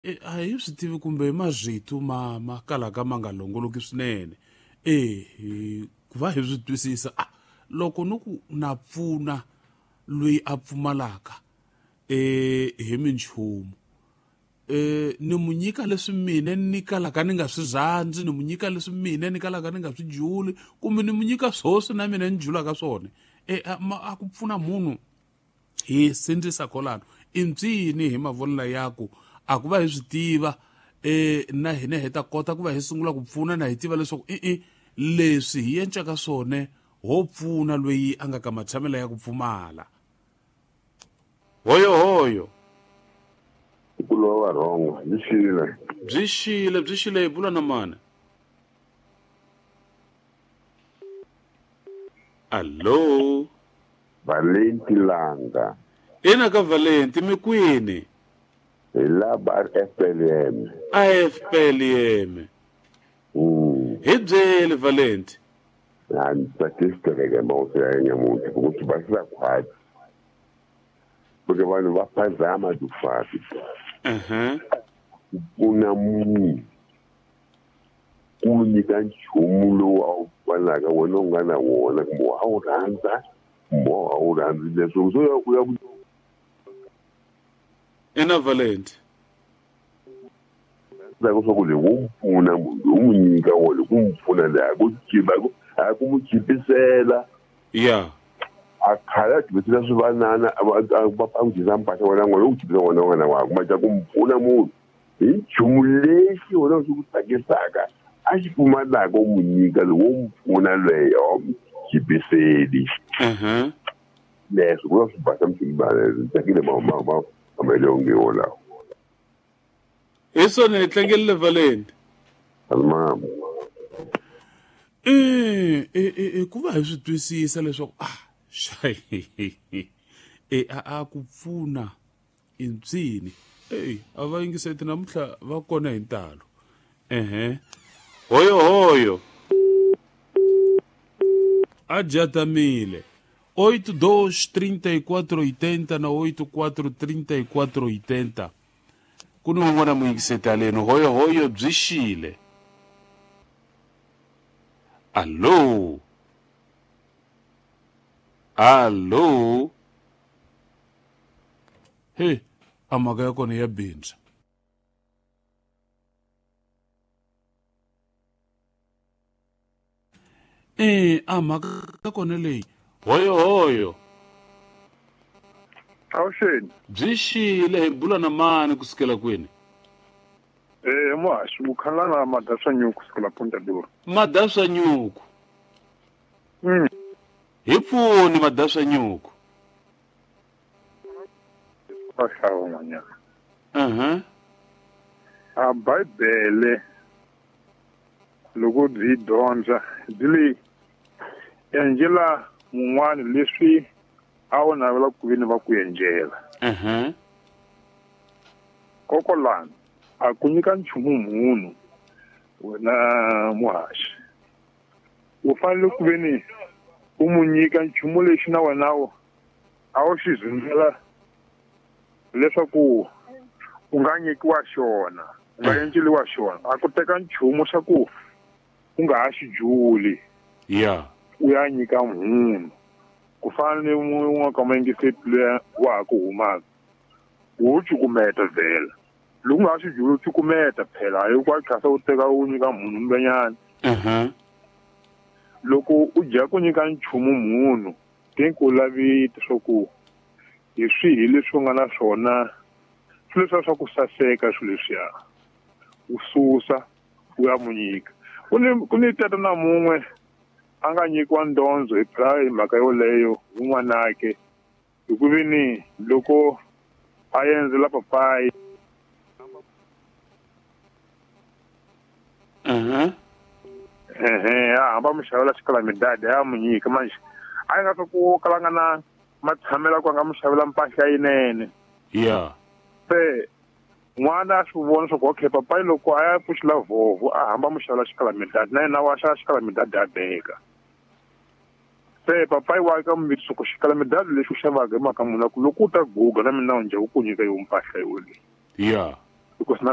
A hi swi tivi kumbe marito ma kalaka ma nga longoloki swinene. Ku va hi swi twisisa, loko ni ku na pfuna loyi a pfumalaka hi minchumu, ni mu nyika leswi mina ni kalaka ni nga swi rhandzi, ni mu nyika leswi mina ni kalaka ni nga swi juli, kumbe ni mu nyika swoswi na mina ni julaka swona. A ku pfuna munhu hi sindzisa kolano i mpyini hi mavonelo ya ku a ku va hi swi tiva, na hina hi ta kota ku va hi sungula ku pfuna na hi tiva leswaku leswi hi encaka swona ho pfuna loyi a nga ka matshamelo ya ku pfumala. Hoyo hoyo. Ku lova rhongo, byi xile. Byi xile, byi xile hi bula na mani? Allo. Valenti Langa. Ina ka Valenti mi kwini? Hi la ba FPLM. A FPLM. Hi byele Valenti. A ni tsakisi mawusi ya nyamuntlha ku swi basisa khwatsi. Porque vanhu va phazama tifati. Ku pfuna munhu ku nyika nchumu lowu a wu pfanaka wena u nga na wona kumbe a wu rhandza kumbe a wu rhandzi leswo so ya ku ya ku Ina Valenti. Ndzhaku swa ku leyi wo pfuna munhu u n'wi nyika wona ku n'wi pfuna leyi a ku chipa a ku n'wi chipisela. Ya. A khale a chipisela swivanana a va n'wi dyisa mpahla wena n'wana u chipisa wena n'wana wakwe ma ku n'wi pfuna munhu hi nchumu lexi wena xi ku tsakisaka a xi pfumalaka u n'wi nyika lowu wo n'wi pfuna lweyo a wu chipiseli. Leswi ku va swi basa msimbane tsakile mamelonge wolawo. Hi swona hi tlangelile Valenti. Mama. Ku va hi swi twisisa leswaku a ku pfuna i ntsini. A va yingiseti namuntlha va kona hi ntalo. Hoyo hoyo. A jatamile. 8 2 34 80 na 8 4 34 80. Ku ni un'wana muyingiseti haleni. Hoyo hoyo byi xile. Allo. Allo. He, a mhaka ya kona ya bindza. A mhaka ya kona leyi. Hoyo hoyo. Awuxeni. Byi xile hi bula na mani kusukela kwini? Muhaxi, u khala na Madaswa Nyuku kusukela Ponta Dura. Madaswa Nyuku. Hi pfuni Madaswa Nyuku. Va hlaya n'wanyana. A Bibele loko byi dyondza byi le endlela mun'wana leswi a wu navela ku veni va ku endlela. Kokolani a ku nyika nchumu munhu wena muhaxi u fanele ku veni u mu nyika nchumu lexi na wena a wu xi zundzela leswaku u nga nyikiwa xona, u nga endleliwa xona. A ku teka nchumu xa ku u nga ha xi juli. U ya nyika munhu. Ku fana ni un'wana ka mayingiseti luya wa ha ku humaka. Wo cukumeta vhela. Loko u nga ha xi juli u cukumeta phela, hayi ku a u teka u nyika munhu mbenyana. Loko u dya ku nyika nchumu munhu, think u lavi leswaku hi swihi leswi u nga na swona, swilo leswiya swa ku saseka swilo leswiya. U susa u ya mu nyika. Ku ni tata na mun'we a nga nyikiwa ndondzo hi phela hi mhaka yoleyo hi n'wanake. Hi ku veni loko a endzela papayi. A hamba mu xavela xikalamidadi a mu nyika manje. A nga swa ku kala nga na matshamelo ku nga mu xavela mpahla yinene. Se n'wana a swi vona swa ku okay papayi loko a ya pfuxela vhovho a hamba mu xavela xikalamidadi na yena wa xava xikalamidadi a beka. Se papayi wa ka muviti swa ku xikalamidadi lexi u xavaka hi mhaka munhu ku loko u ta guga na mina u njhe u ku nyika yo mpahla yoleyi. Because na